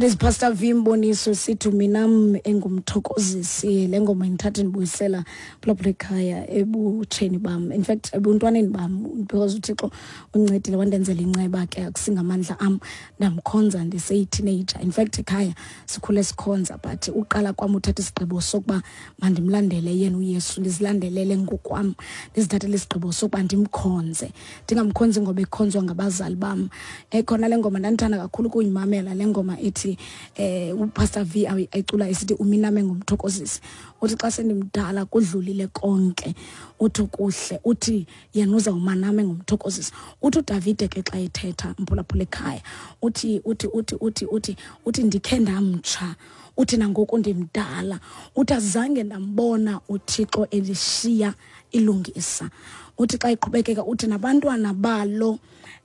That is Pastor V Mboniso sithi minam engumthokozisi. Le ngoma indithatha indibuyisela phulaphula ekhaya ebutsheni bam, in fact ebuntwaneni bam, because uThixo uncedile wandenzela inceba ke, akusingamandla am, ndamkhonza ndiseyi-teenager. In fact ekhaya sikhule sikhonza, but uqala kwam uthatha isigqibo sokuba mandimlandele yena uYesu, ndizilandelele ngokwam, ndizithathele isigqibo sokuba ndimkhonze, ndingamkhonzi ngoba ekhonzwa ngabazali bam. Khona le ngoma ndandithanda kakhulu ukuyimamela, le ngoma ithi uPastor V ayicula esithi uminame ngumthokozisi. Uthi xa sendimdala kudlulile konke, uthi kuhle, uthi yena uzawumaname ngumthokozisi. Uthi uDavide ke xa ethetha, mphulaphula ekhaya, uthi uthi uthi uthi uthi uthi ndikhe ndamtsha, uthi nangoku ndimdala, uthi azange ndambona uThixo elishiya ilungisa. Uthi xa iqhubekeka uthi nabantwana balo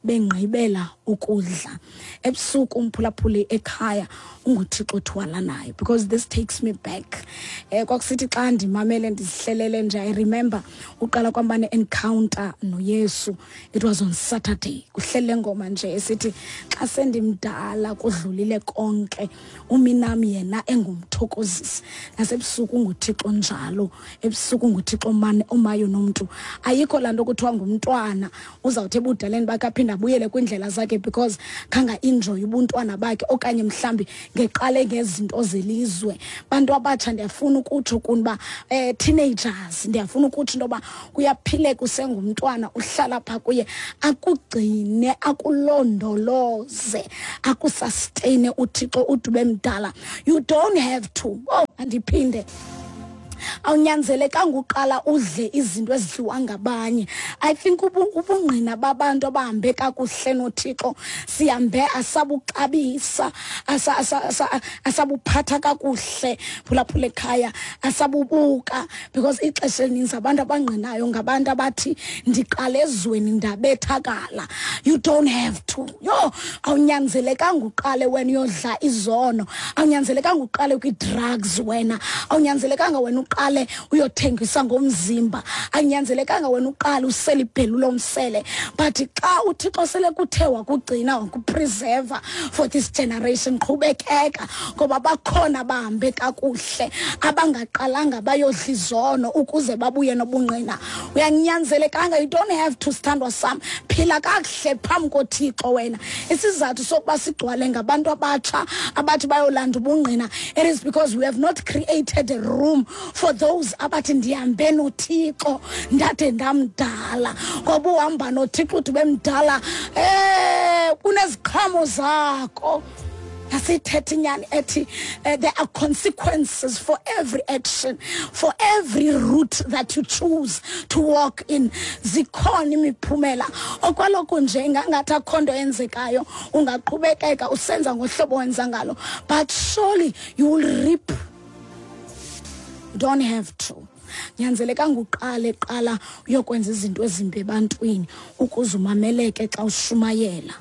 bengqibela ukudla ebusuku. Umphulaphuli ekhaya, unguThixo othwalanayo, because this takes me back. Kwakusithi xa ndimamele ndizihlelele nje, I remember uqala kwam uba ne-encounter noYesu. It was on Saturday, kuhlele ngoma nje esithi xa sendimdala kudlulile konke, uminam yena engumthokozisi, nasebusuku unguThixo njalo, ebusuku unguThixo mane omayo nomntu. Ayikho laa nto kuthiwa ngumntwana uzawuthi ebudaleni bakhe aphinde abuyele kwiindlela zakhe because khanga enjoy ubuntwana bakhe, okanye mhlawumbi ngeqale ngezinto zelizwe. Bantu abatsha, ndiyafuna ukutsho kuni uba teenagers, ndiyafuna ukutsho into yoba kuyaphileka usengumntwana, uhlala phaa kuye, akugcine, akulondoloze, akusustaine uThixo ude ube mdala. You don't have to. Oh, andiphinde, awunyanzelekanga uqala udle izinto ezidliwa ngabanye. I think ubungqina babantu abahambe kakuhle noThixo sihambe asabuxabisa, asabuphatha kakuhle, phulaphula ekhaya, asabubuka, because ixesha elininzi abantu abangqinayo ngabantu abathi ndiqale ezweni ndabethakala. You don't have to. Yho, awunyanzelekanga uqale wena uyodla izono, awunyanzelekanga uqale kwii-drugs wena, awunyanzelekanga wena uqale uyothengisa ngomzimba, awunyanzelekanga wena uqale usele ibhelu lomsele. But xa uThixo sele kuthe wakugcina, wakupreserva for this generation, qhubekeka, ngoba bakhona bahambe kakuhle abangaqalanga bayodla izono ukuze babuye nobungqina. Uyanyanzelekanga, you don't have to, sithandwa sam. Phila kakuhle phambi koThixo wena. Isizathu sokuba sigcwale ngabantu abatsha abathi bayolanda ubungqina, it is because we have not created a room for those abathi ndihambe noThixo ndade ndamdala. Ngoba uhamba noThixo uthi bemdala, kuneziqhamo zakho. Asithethe inyani ethi there are consequences for every action, for every route that you choose to walk in. Zikhona imiphumela. Okwaloku nje ingangathi akho nto yenzekayo, ungaqhubekeka usenza ngohlobo wenza ngalo, but surely you will reap. You don't have to. Nyanzelekanga uqale qala uyokwenza izinto ezimbi ebantwini ukuze umameleke xa ushumayela.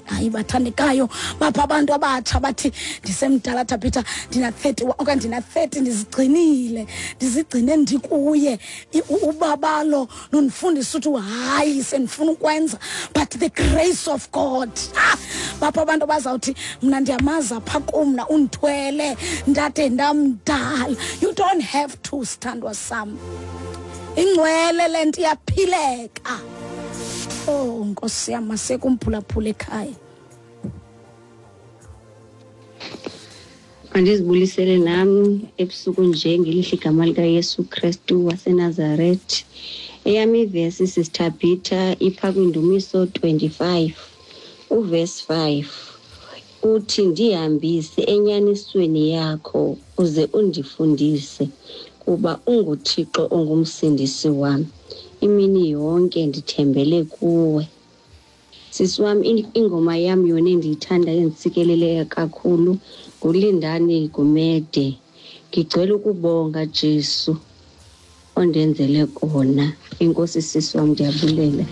Hayi, bathandekayo, bapha abantu abatsha bathi ndisemdala Thabitha, ndina-30 okanye ndina-30, ndizigcinile, ndizigcine ndikuye. Ubabalo lundifundisa ukuthi hayi, sendifuna ukwenza, but the grace of God. Bapha abantu abazawuthi mna ndiyamazi apha kumna undithwele ndade ndamdala. You don't have to, sithandwa sam. Ingcwele le nto, iyaphileka. Oh nkosi yam, masekumphulaphula ekhaya. Mandizibulisele nam ebusuku nje ngelihle igama likaYesu Kristu waseNazarethi. Eyam ivesi, Sister ipha kwiNdumiso 25 uvesi 5, uthi ndihambise enyanisweni yakho uze undifundise, kuba unguThixo ongumsindisi wam, imini yonke ndithembele kuwe. Sisi wam, ingoma yam yona endiyithanda endisikeleleyo kakhulu nguLindani Gumede, "Ngigcwele ukubonga Jesu ondenzele kona." Enkosi sisi wam, ndiyabulela.